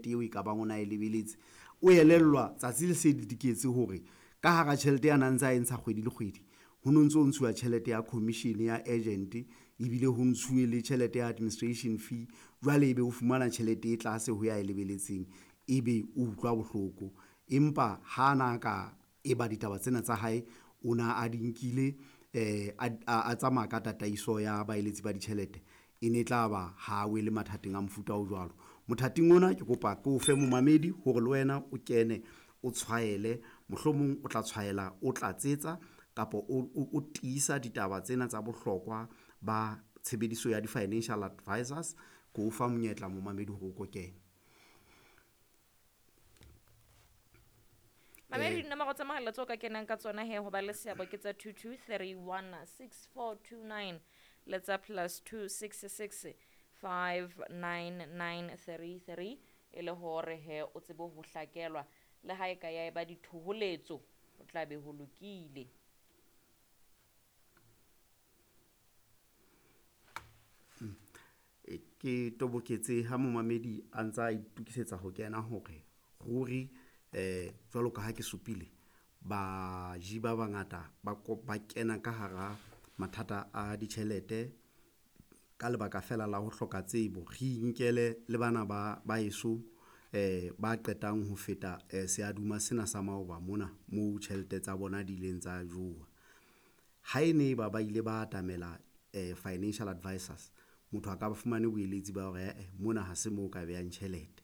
tjhelete eo e ka bang o na e lebeletse. O elellwa tsatsi le se le diketse hore ka hara tjhelete ya nang ntse a e ntsha kgwedi le kgwedi, ho no ntso ntshuwa tjhelete ya commission ya agent, ebile ho ntshuwe le tjhelete ya administration fee. Jwale ebe o fumana tjhelete e tlase ho ya e lebeletseng, ebe o utlwa bohloko. Empa ha na ka eba ditaba tsena tsa hae, o na a di nkile a tsamaya ka tataiso ya baeletsi ba ditjhelete, e ne tla ba ha wele mathateng a mofuta o jwalo. Mothating ona ke kopa ke o fe momamedi hore le wena o kene o tshwaele, mohlomong o tla tshwaela, o tlatsetsa kapa o tiisa ditaba tsena tsa bohlokwa ba tshebediso ya di-financial advisors. Ke o fa monyetla momamedi hore o ko kene. Mamedi, dinomoro tsa mohala tseo ka kenang ka tsona he ho ba le seabo ke tsa 22316429 le tsa +266 59933, e le hore he o tsebe ho hlakelwa le ha e ka ya eba dithoholetso, o tla be ho lokile. Ke toboketse ha momamedi a ntsa itukisetsa ho kena hore ruri jwalo ka ha ke supile, baji ba bangata ba kena ka hara mathata a ditjhelete ka lebaka fela la ho hloka tsebo. Re inkele le bana ba heso ba qetang ho feta seaduma sena sa maoba mona moo tjhelete tsa bona di ileng tsa jowa. Ha e ne ba ba ile ba atamela financial advisors, motho a ka ba fumane boeletsi ba hore ae mona ha se mo ka behang tjhelete.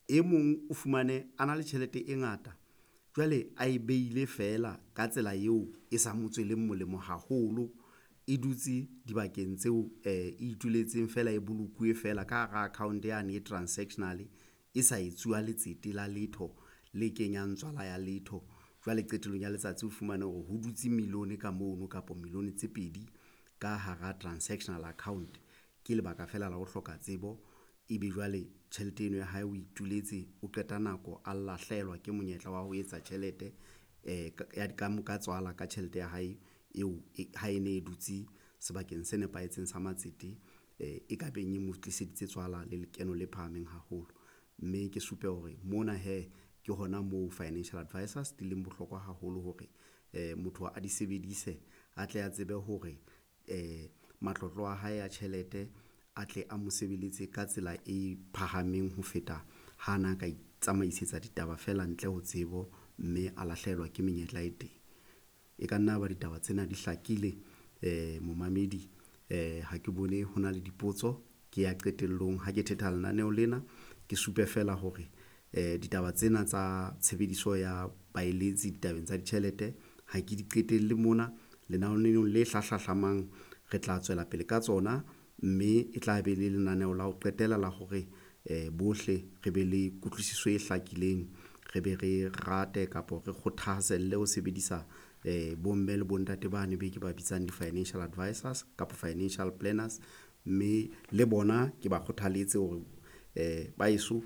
E mong o fumane a na le tjhelete e ngata jwale a e behile feela ka tsela eo e sa mo tsweleng molemo haholo, e dutse dibakeng tseo e ituletseng feela, e bolokuwe feela ka hara account yane e transactional e sa etsuwa letsete la letho le kenyang tswala ya letho. Jwale qetellong ya letsatsi o fumane hore ho dutse million ka mono kapa million tse pedi ka hara transactional account. Ke lebaka fela la ho hloka tsebo, ebe jwale tjhelete eno ya hae o ituletse, o qeta nako a lahlehelwa ke monyetla wa ho etsa tjhelete ya ka tswala ka tjhelete ya hae eo ha e ne e dutse sebakeng se nepahetseng sa matsete, e ka beng e mo tliseditse tswala le lekeno le phahameng haholo. Mme ke supe hore mona hee ke hona moo financial advisors di leng bohlokwa haholo hore motho a di sebedise, a tle a tsebe hore matlotlo a hae a tjhelete a tle a mo sebeletse ka tsela e phahameng ho feta ha na ka itsamaisetsa ditaba fela ntle ho tsebo, mme a lahlehelwa ke menyetla e teng. E ka nna ba ditaba tsena di hlakile momamedi, ha ke bone ho na le dipotso. Ke ya qetellong ha ke thetha lenaneo lena, ke supe fela hore ditaba tsena tsa tshebediso ya baeletsi ditabeng tsa ditjhelete ha ke di qetelle mona. Lenaneong le hlahlamang re tla tswela pele ka tsona, mme e tla be le lenaneo la ho qetela la hore bohle re be le kutlwisiso e hlakileng, re be re rate kapa re kgothaselle ho sebedisa bomme le bontate bane be ke ba bitsang di-financial advisors kapa financial planners. Mme le bona ke ba kgothaletse hore ba heso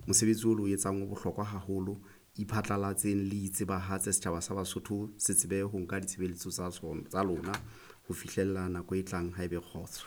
mosebetsi o lo etsang o bohlokwa haholo, iphatlalatseng le itsebahatse setjhaba sa Basotho se tsebe ho nka ditshebeletso tsa lona ho fihlella nako e tlang ha ebe kgotso.